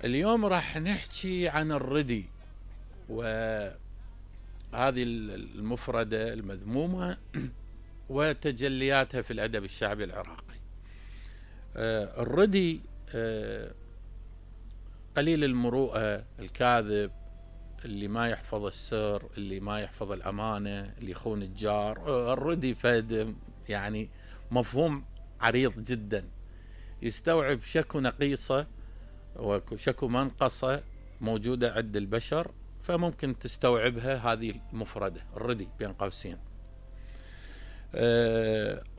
اليوم راح نحكي عن الردي، وهذه المفردة المذمومة وتجلياتها في الأدب الشعبي العراقي. الردي قليل المروءة، الكاذب، اللي ما يحفظ السر، اللي ما يحفظ الأمانة، اللي يخون الجار. الردي فهد يعني مفهوم عريض جدا، يستوعب شكو نقيصة وشكو منقصة موجودة عند البشر، فممكن تستوعبها هذه المفردة الردي بين قوسين.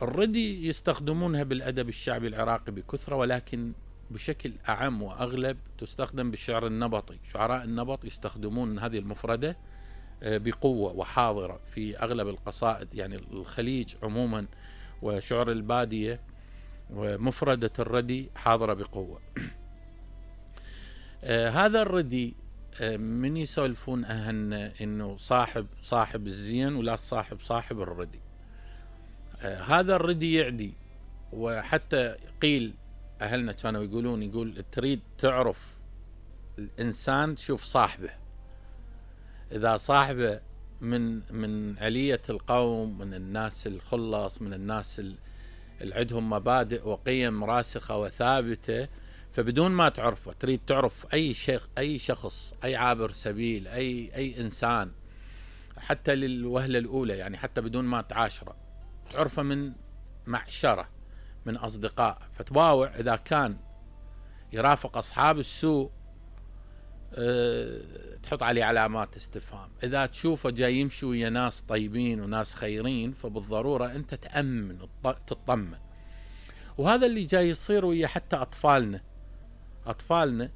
الردي يستخدمونها بالأدب الشعبي العراقي بكثرة، ولكن بشكل أعم وأغلب تستخدم بالشعر النبطي. شعراء النبط يستخدمون هذه المفردة بقوة وحاضرة في أغلب القصائد، يعني الخليج عموما وشعر البادية، ومفردة الردي حاضرة بقوة. هذا الردي من يسولفون أهلنا إنه صاحب الزين ولا صاحب الردي. هذا الردي يعدي، وحتى قيل أهلنا كانوا يقول تريد تعرف الإنسان شوف صاحبه. إذا صاحبه من علية القوم، من الناس الخلص، من الناس اللي عندهم مبادئ وقيم راسخة وثابتة، فبدون ما تعرفه تريد تعرف أي شخص، أي عابر سبيل، أي إنسان، حتى للوهلة الأولى، يعني حتى بدون ما تعاشره، تعرفه من معشرة، من أصدقاء. فتباوع إذا كان يرافق أصحاب السوء تحط عليه علامات استفهام. إذا تشوفه جاي يمشي ويا ناس طيبين وناس خيرين، فبالضرورة أنت تأمن تطمن. وهذا اللي جاي يصير ويا حتى أطفالنا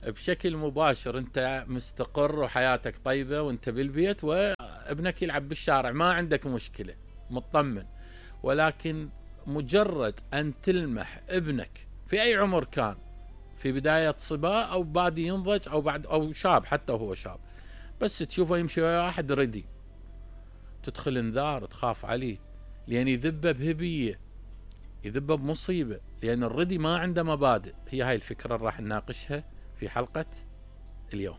بشكل مباشر. أنت مستقر وحياتك طيبة وأنت بالبيت، وابنك يلعب بالشارع، ما عندك مشكلة، مطمن. ولكن مجرد أن تلمح ابنك في أي عمر كان، في بداية صبا أو بادي ينضج أو شاب، حتى هو شاب، بس تشوفه يمشي ويا واحد ردي، تدخل انذار، تخاف عليه، لأن يذبه بهبية، يذبه بمصيبة، لأن الردي ما عنده مبادئ. هي هاي الفكرة اللي راح نناقشها في حلقة اليوم.